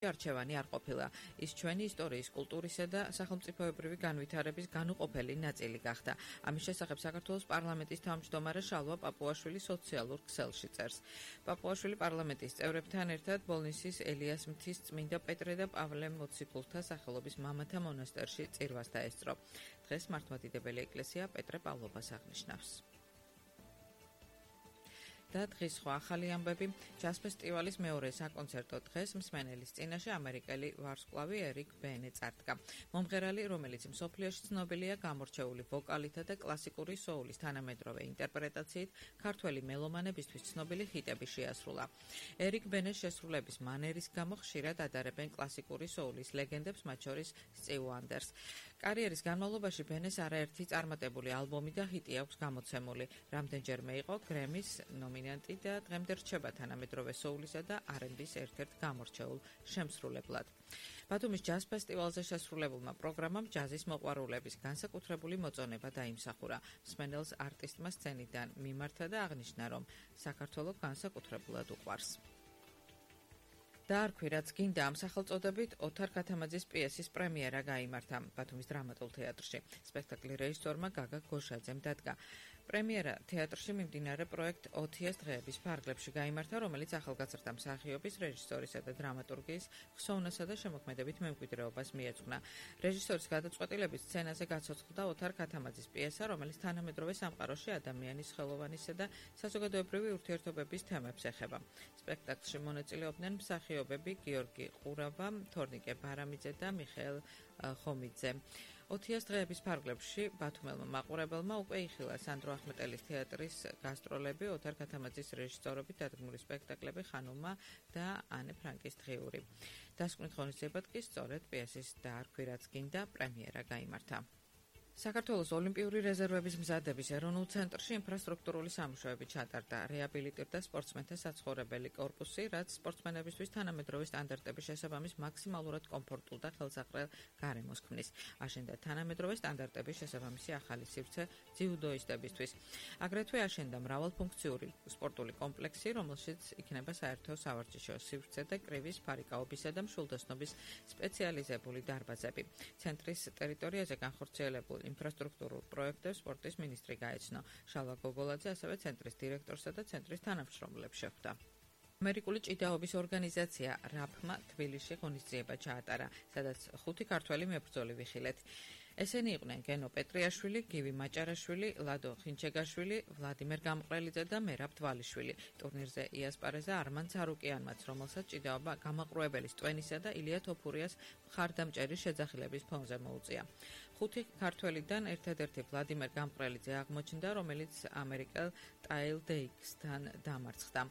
არჩევანი არ ყოფილა. ის ჩვენი ისტორიის, კულტურისა და სახელმწიფოებრივი განვითარების განუყოფელი ნაწილი გახდა. ამის შესახებ საქართველოს პარლამენტის თავმჯდომარე შალვა პაპუაშვილი სოციალურ ქსელში წერს. პაპუაშვილი პარლამენტის წევრებთან ერთად ბოლნისის ელიას მთის წმინდა პეტრე და პავლე მოციქულთა სახელობის მამათა მონასტერში წირვას დაესწრო. დღეს მართლმადიდებელი ეკლესია პეტრე პავლობას აღნიშნავს. და დღის სხვა ახალი ამბები. ჯაზ ფესტივალის მეორე საკონცერტო დღეს მსმენელის წინაშე ამერიკელი ვარსკვლავი ერიკ ბენი წარდგა. მომღერალი, რომელიც მსოფლიოში ცნობილია გამორჩეული ვოკალითა და კლასიკური სოულის თანამედროვე ინტერპრეტაციით, ქართველი მელომანებისთვის ცნობილი ჰიტები შეასრულა. ერიკ ბენის შესრულების მანერის გამო ხშირად ადარებენ კლასიკური სოულის ლეგენდებს, მათ შორის სტივ ვანდერს. კარიერის განმავლობაში ბენეს არაერთი წარმატებული ალბომი და ჰიტი აქვს გამოცემული. რამდენჯერმე იყო გრემის ნომინანტი და დღემდე რჩება თანამედროვე სოულისა და R&B-ს ერთ-ერთ გამორჩეულ შემსრულებლად. ბათუმის ჯაზ ფესტივალზე შესრულებულმა პროგრამამ ჯაზის მოყვარულების განსაკუთრებული მოწონება დაიმსახურა. მსმენელს არტისტმა სცენიდან მიმართა და აღნიშნა, რომ საქართველო განსაკუთრებულად უყვარს. დაარქვი, რაც გინდა ამ სახელწოდებით ოთარ ქათამაძის პიესის პრემიერა გაიმართა ბათუმის დრამატულ თეატრში. სპექტაკლის რეჟისორმა გაგა გოშაძემ დადგა. პრემიერა თეატრში მიმდინარე პროექტ ოთიას დღეების ფარგლებში გაიმართა, რომელიც ახალგაზრდა მსახიობის, რეჟისორისა და დრამატურგის ხსოვნასა და შემოქმედებით მემკვიდრეობას მიეძღვნა. რეჟისორის გადაწყვეტილებით სცენაზე გაცოცხლდა ოთარ ქათამაძის პიესა, რომელიც თანამედროვე სამყაროში ადამიანის ხელოვანისა და საზოგადოებრივი ურთიერთობების თემებს ეხება. სპექტაკლში მონაწილეობდნენ მსახიობები გიორგი ყურავა, თორნიკე ბარამიძე და მიხეილ ხომიძე. ოთიას დღეების ფარგლებში ბათუმელმა მაყურებელმა უკვე იხილა სანდრო ახმეტელის თეატრის გასტროლები, ოთარ ქათამაძის რეჟისორობით დადგმული სპექტაკლები ხანუმა და ანე ფრანკის დღიური. დასკვნით ღონისძიებად კი სწორედ პიესის დაარქვი, რაც გინდა პრემიერა გაიმართა. საქართველოს ოლიმპიური რეზერვების მზადების ეროვნულ ცენტრში ინფრასტრუქტურული სამუშაოები ჩატარდა. რეაბილიტირდა სპორტსმენთა საცხოვრებელი კორპუსი, რაც სპორტსმენებისთვის თანამედროვე სტანდარტების შესაბამის მაქსიმალურად კომფორტულ და ხელსაყრელ გარემოს ქმნის. აშენდა თანამედროვე სტანდარტების შესაბამისი ახალი სივრცე ძიუდოისტებისთვის. აგრეთვე აშენდა მრავალფუნქციური სპორტული კომპლექსი, რომელშიც იქნება საერთო სავარჯიშო სივრცე და კრივის, ფარიკაობისა და მშვილდოსნობის სპეციალიზებული დარბაზები. ცენტრის ტერიტორიაზე განხორციელებულ ინფრასტრუქტურულ პროექტებს სპორტის მინისტრი გაეცნო. შალვა გოგოლაძე ასევე ცენტრის დირექტორსა და ცენტრის თანამშრომლებს შეხვდა. ამერიკული ჭიდაობის ორგანიზაცია RAP-მა თბილისში ღონისძიება ჩაატარა, სადაც 5 ქართველი მებრძოლი ვიხილეთ. ესენი იყვნენ გენო პეტრიაშვილი, გივი მაჭარაშვილი, ლადო ხინჩეგაშვილი, ვლადიმერ გამყრელიძე და მერაბ თვალიშვილი. ტურნირზე იასპარეზა არმან ცარუკიანმაც, რომელსაც ჭიდაობა გამაყრუებელის ტვენისა და ილია თოფურიას მხარდამჭერის შეძახილების ფონზე მოუწია. 5 ქართველიდან ერთადერთი ვლადიმერ გამყრელიძე აღმოჩნდა, რომელიც ამერიკელ ტაილ დეიქსთან დამარცხდა.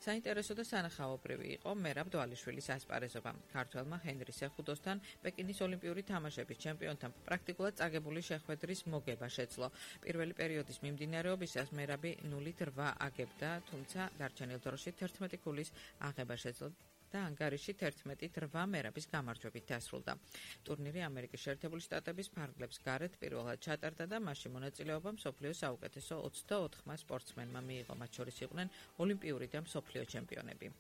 საინტერესო და სანახაობრივი იყო მერაბ თვალიშვილის ასპარეზობა. ქართველმა ჰენრი სეხუდოსთან პეკინის ოლიმპიური თამაშების ჩემპიონთან პრაქტიკულად წაგებული შეხვედრის მოგება შეძლო. პირველი პერიოდის მიმდინარეობისას მერაბი 0-8 აგებდა, თუმცა დარჩენილ დროში 11 ქულის აღება შეძლო და ანგარიში 11-8 მერაბის გამარჯვებით დასრულდა. ტურნირი ამერიკის შეერთებული შტატების ფარგლებს გარეთ პირველად ჩატარდა და მასში მონაწილეობა მსოფლიოს საუკეთესო 24 სპორტსმენმა მიიღო, მათ შორის იყვნენ ოლიმპიური და მსოფლიო ჩემპიონები.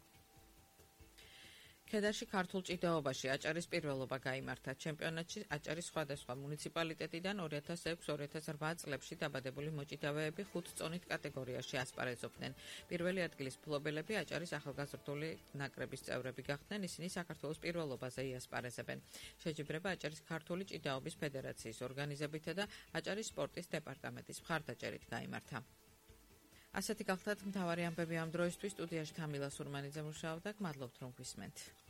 ქედარში ქართულ ჭიდაობაში აჭარის პირველობა გაიმართა. ჩემპიონატში აჭარის სხვადასხვა მუნიციპალიტეტიდან 2006-2008 წლებში დაბადებული მოჭიდავეები 5 წონით კატეგორიაში ასპარეზობდნენ. პირველი ადგილის მფლობელები აჭარის ახალგაზრდული ნაკრების წევრები გახდნენ, ისინი საქართველოს პირველობაზე იასპარეზებენ. შეჯიბრება აჭარის ქართული ჭიდაობის ფედერაციის ორგანიზებითა და აჭარის სპორტის დეპარტამენტის მხარდაჭერით გაიმართა. ასეთი გახლდათ მთავარი ამბები ამ დროისთვის. სტუდიაში თამილა სურმანიძე მუშაობდა. გმადლობთ რომ გვისმენთ.